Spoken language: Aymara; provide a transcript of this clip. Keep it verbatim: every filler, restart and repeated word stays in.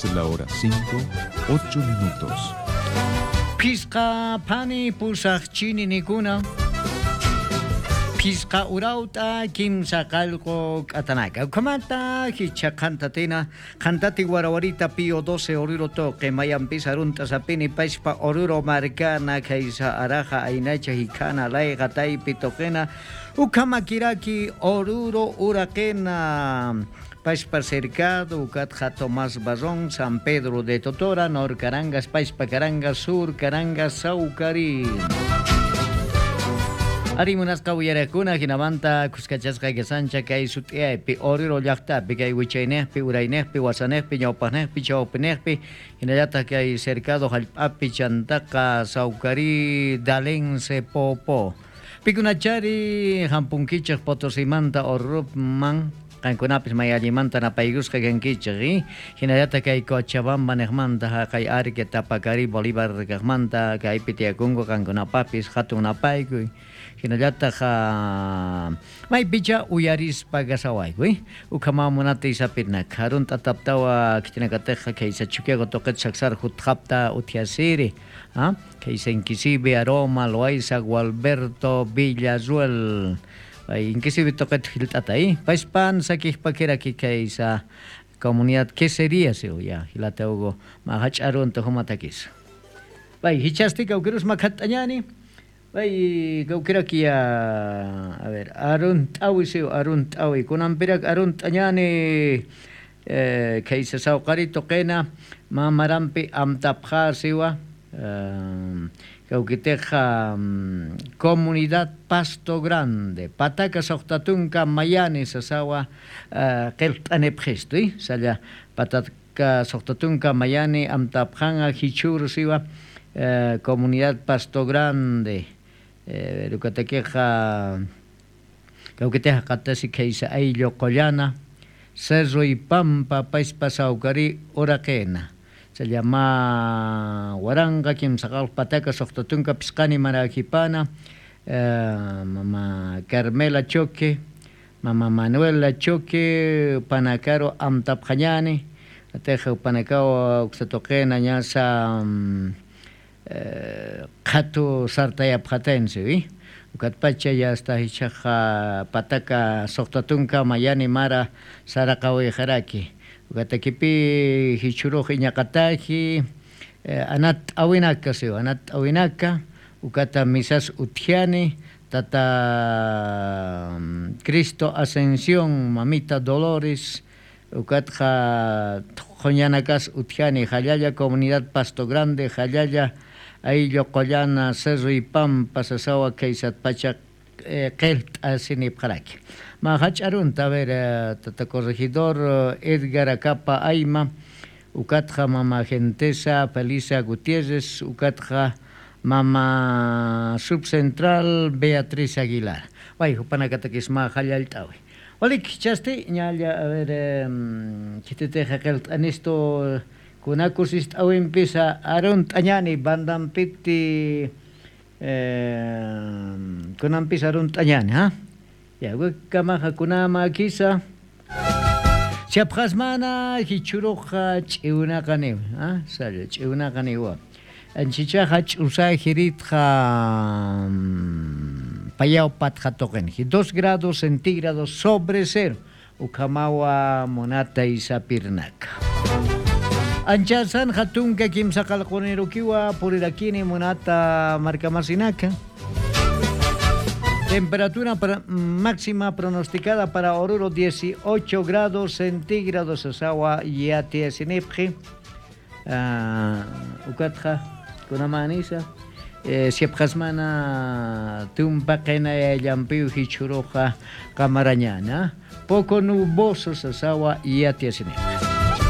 La hora cinco, ocho minutos. Phisqa phani pusax chininikuna. Phisqa urawt'a kimsa qallqu k'atanaka. Ukhamata jichha qhantatina, qhantati warawarita Pío doce Oruro tuqi, mayampis arunt'asapini pachpa Oruro markana khaysa araxa aynacha jikhana layqa taypi tuqina, ukhamakiraki Oruro uraqina. Pachpa Cercado, ukatxa Tomás Barrón, San Pedro de Totora, Nor Carangas, Pachpa Carangas, Sur Carangas, Saucari. Ari munasqa uyariqkuna, jinamanta khuskachasqa kasancha kay sut'iyaypi, Oruro llaqtapi, kay wichayniqpi, urayniqpi, wasaniqpi, ñawpaqniqpi, chawpiniqpi, jinallataq kay Cercado jallp'api, chantaqa Saucari, Dalense, Popo. Pikunachari jampunkichik Potosimanta Oruruman, qankunapis may allimanta napaykusqa kankichik, ¿eh? Jinallataq kay Cochabamba niqmanta, jaqay Arque, Tapacari, Bolívar kaqmanta, kaypi tiyakunku qankunapapis jatun napaykuy. Jinallataq, ah, maypicha uyarispa kasawayku, ¿eh? Ukhamaw munata isapirinaka. Arunt'ataptawa khitinakatixa khaysa Chukiyawu tuqit saksar jutxapta utjasiri. ¿Ah? Khaysa Inquisivi, Aroma, Loayza, Gualberto, Villarruel. Ay, Inquisivi tuqit jilt'ata, ¿eh? Payspan sakijpakiraki khaysa comunidad, ¿qué sería siw? Ya, jilata Hugo, mä jach'a arunta jumatakisa. Bay, jichhasti kawkirus makhatt'añäni. Bay, kawkiraki ya, a ver, arunt'awi siw, arunt'awi. Kunampirak arunt'añäni, eh, khaysa sawqari tuqina, mä marampi amtapxä siwa, eh, kawkitixa, mm, comunidad Pasto Grande, pataka suxta tunka mayani sasawa, eh, qillqt'anipxistu, ¿eh? Salla pataka suxta tunka mayani amtapxaña jichhüru siwa, eh, comunidad Pasto Grande, eh, ukatakixa, kawkitix jaqatasi khaysa ayllu qullana, Cerro y Pampa, payspa sawkari uraqina. Salla mä waranqa kimsa qallq pataka suxta tunka phisqani maräkipana, eh, mama Carmela Choque, mama Manuela Choque, panakaru amtapxañäni, atix panakaw uksa tuqina ñasa, mm, eh, qhatu sartayapxatin siwi. Ukatpacha ya hasta jichhaxa pataka suxta tunka mayani mara saraqawixaraki. Ukatakipi jichhürux iñaqataji, eh, anatt'awinaka siwi, anatt'awinaka, ukata misas utjani, tata, mm, Cristo Ascensión, mamita Dolores, ukatxa thuqhuñanakas utjani, jallalla comunidad Pasto Grande, jallalla ayllu qullana Cerro y Pampa sasawa khaysatpacha, eh, qillqt'asinipxaraki. Mä jach'a arunta, a ver, eh, tata corregidor, eh, Edgar Acapa Ayma, ukatxa mama Gentesa Felisa Gutiérrez, ukatxa mama subcentral Beatriz Aguilar. Way, jupanakatakis mä jallallt'awi. Walik, jichhasti, ñalla, a ver, em, khititixa qillqt'anistu, kuna kusist'awimpisa arunt'añäni, bandampiti, em, kunampisa arunt'añäni, ¿ah? Ya, wikkamaxa kunamäkisa. Siapxasmana jichhüruxa ch'iwnaqaniw, ¿ah? Salla, ch'iwnaqaniwa. Anchichaxa ch'usajiritxa, mm, payaw patxa tuqinji, dos grados centígrados sobre cero. Ukhamawa munata isapirnaka. Anchasan jatunka kimsa qallqunirukiwa purirakini munata markamasinaka. Temperatura para, máxima pronosticada para Oruro dieciocho grados centígrados sasawa yatiyasinipxi. Ah, ukatxa, kunamänisa, eh, siapxasmana tumpa qinayallampiw jichhüruxa qamarañäna. Poco nuboso sasawa yatiyasini.